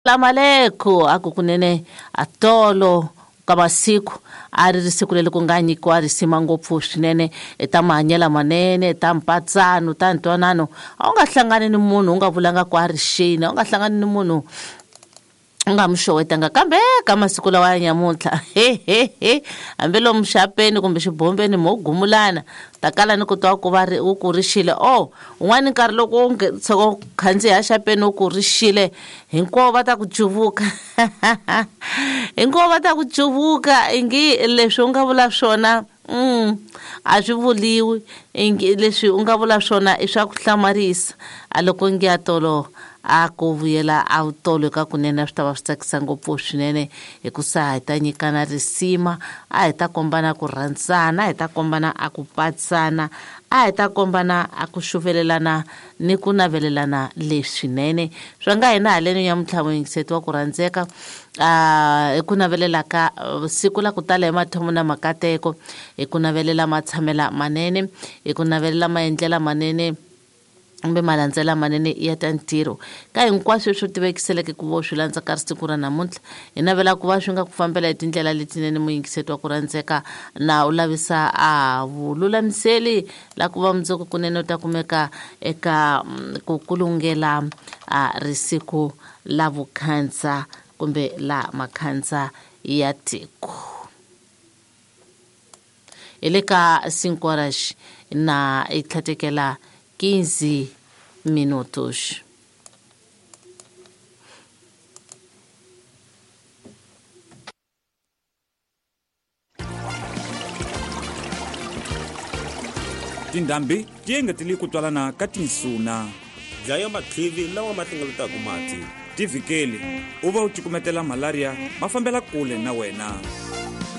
Lamaleko a ku kunene a tolo ka masiku a ri ri siku leri ku nga nyikiwa risima ngopfu swinene ta mahanyelo manene ta mpatsano ta ntwanano. A wu nga hlangani ni munhu u nga vulanga ku a ri xini, a wu nga hlangani ni munhu u nga mi xowetanga, kambe ka masiku lawa ya nyamuntlha hehehe hambi lomu xapeni kumbe xibombeni mo gumulana ta kala ni ku twa ku va ri u ku rixile. O un'wana nkarhi loko u tshoka u khandziya xapeni u ku rixile, hinkwavo va ta ku cuvuka hinkwavo va ta ku cuvuka ingi leswi u nga vula swona a swi vuliwi, ingi leswi u nga vula swona i swa ku hlamarisa. A loko ngi ya tolo a ku vuyela a tolo ka kunene a swi ta va swi tsakisa ngopfu swinene, hikusa hi ta nyikana risima, a hi ta kombana ku rhandzana, a hi ta kombana a ku patsana, a hi ta kombana a ku xuvelelana ni ku navelelana leswinene. Swa nga hina haleno nyamuntlha muyingiseti wa ku rhandzeka, hi ku navelela ka siku la ku tala hi mathomo na makateko, hi ku navelela matshamela manene, hi ku navelela maendlela manene kumbe malandzela manene ya ta ntirho ka hinkwaswo leswi tivekiseleke ku vo swi landza ka siku ra namuntlha. Hi navela ku va swi nga ku fambela hi tindlela letinene muyingiseti wa ku rhandzeka, na u lavisa a vululamiseli la ku va mundzuku kunene u ta kumeka eka ku kulungela a risiku la vukhandza kumbe la makhandza ya tiko. Hi le ka 5 horas na hi tlhatekela 15 minutos. Tindhambi ti engetele ku twalana ka tinsuna. Dlaya matlhivi lawa ma hlengeletaka mati. Ti vhikeli u va u cukumetela malaria ma fambela kule na wena.